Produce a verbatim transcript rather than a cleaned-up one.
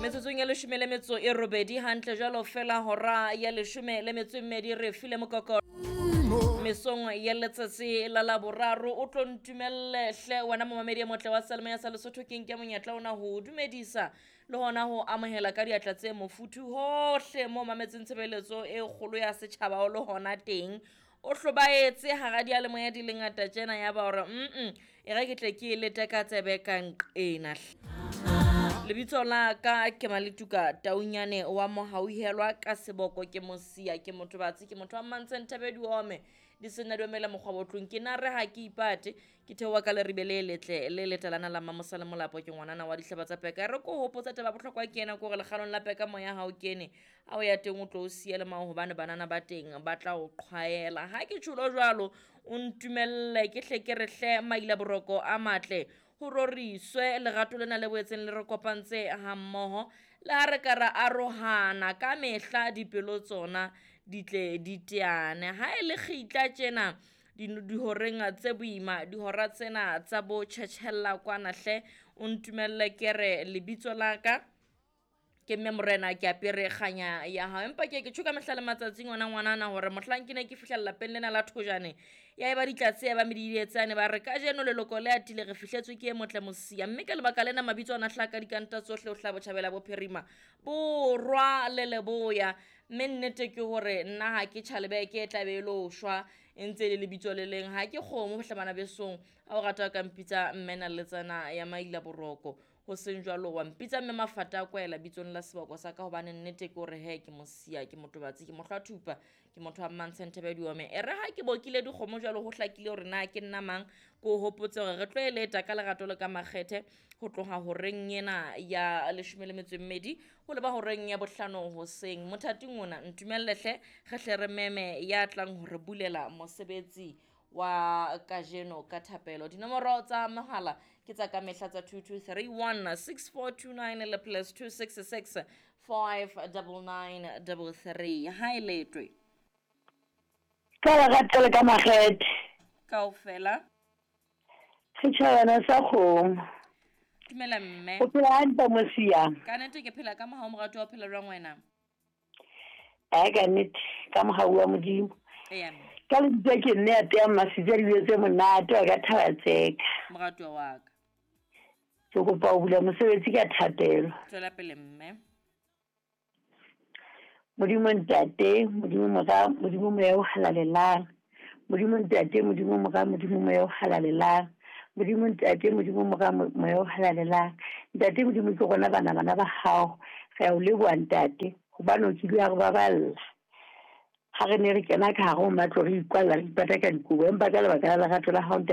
Metsotsong ya leshome le metso e robedi hantle jwalo fela hora ya leshome le metso e mmedi re file mokoko mesong ya letsatsi la Laboraro. O tlo ntumelle hle wena momamedi e motle wa Seyalemoya sa Lesotho, ke nke monyetla ona ho dumedisa le hona ho amohela ka diatla tse mofuthu hohle mo mametseng tshebeletso e kgolo ya setjhaba o le hona teng. O hlobaetse hara diyalemoya di le ngata tjena ya ba hore mm e re ke tle ke lete ka tsebe ka nqena. Lebitso la ka ke Maletuka Taunyane wa Mohauhelwa ka seboko ke Mosia, ke motho batsi, ke motho wa Mmantseng Thebe diome di sena di omela mokgwa botlong. Ke na re ha ke ipate ke theoha ka leribe le letle le letalana la Mamosa le Molapo, ke ngwanana wa dihlaba tsa peka. Re ko hopotsa taba bohlokwa ke ena ke hore lekgalong la peka moya ha o kene, ha o ya teng o tlo o siya le mao hobane banana ba teng ba tla o qhwaela. Ha ke tjholo jwalo o ntumelle ke hle ke re hle maila boroko a matle ho roriswe lerato lena le boetseng le re kopantse ha mmoho, le ha re ka ra arohana ka mehla dipelo tsona di tle di teane. Ha e le kgitla tjena dihoreng tse boima, dihora tsena tsa bo tjhetjhella kwana hle, o ntumelle ke re lebitso la ka ke mme morena ke apere kganya ya hao. Empa ke ke tjho ka mehla le matsatsi ngwana ngwanana hore mohlang ke ne ke fihla lapeng lena la Thojane ya eba ditlatse ya ba medidietsane ba re kajeno leloko le atile re fihletswe ke e motle Mosia, mme ka lebaka lena mabitso ana hlaka dikanta tsohle ho hlaha botjhabela bophirima borwa le leboya. Mme nnete ke hore nna ha ke tjhalebeke e tla be e lo shwa e ntse e le lebitso le leng, ha ke kgomo hle bana besong. Ha o rata ka mpitsa mme naletsana ya maila boroko, ho seng jwalo wa mpitsa mme mafata a kwaela bitsong la seboko sa ka, hobane nnete ke hore he ke Mosia, ke motho batsi, ke mohlwa thupa, ke motho wa Mmantsheng Thebe diome. E re ha ke bokile dikgomo jwalo ho hlakile hore na ke nna mang, ke o hopotse hore re tlo e leta ka lerato le ka makgethe ho tloha horeng ena ya leshome le metso e mmedi ho leba horeng ya bohlano hoseng. Mothating ona ntumelle hle re hle re meme ya tlang ho re bulela mosebetsi wa kajeno ka thapelo. Dinomoro tsa mohala ke tsa ka mehla tsa two two three one six four two nine le plus two six six five double nine double three. Ha e letwe ka lerato le ka makgethe kaofela setjhabana sa kgomo. Dumela mme. O phela hantle Mosia? Ka nnete ke phela ka mohau moratuwa, o phela jwang wena? Eh, ka nnete ka mohau wa Modimo. Eya mme. Ka lebitso ke nne ya teang masitsa dijo tse monate wa ka thaba tseka. Moratuwa wa ka. Ke kopa ho bula mosebetsi ka thapelo. Tswela pele mme. Modimo Ntate, Modimo Mora, Modimo Moya o halalelang. Modimo Ntate, Modimo Mora, Modimo Moya o halalelang. Modimo Ntate, Modimo Mora, Moya o halalelang. Ntate Modimo ke rona bana bana ba hao. Re a o leboha Ntate hobane o kile wa re baballa. Ha re ne re kena ka hare ho matlo re ikwalla re ipata ka dikobo, empa ka lebaka la lerato la hao Ntate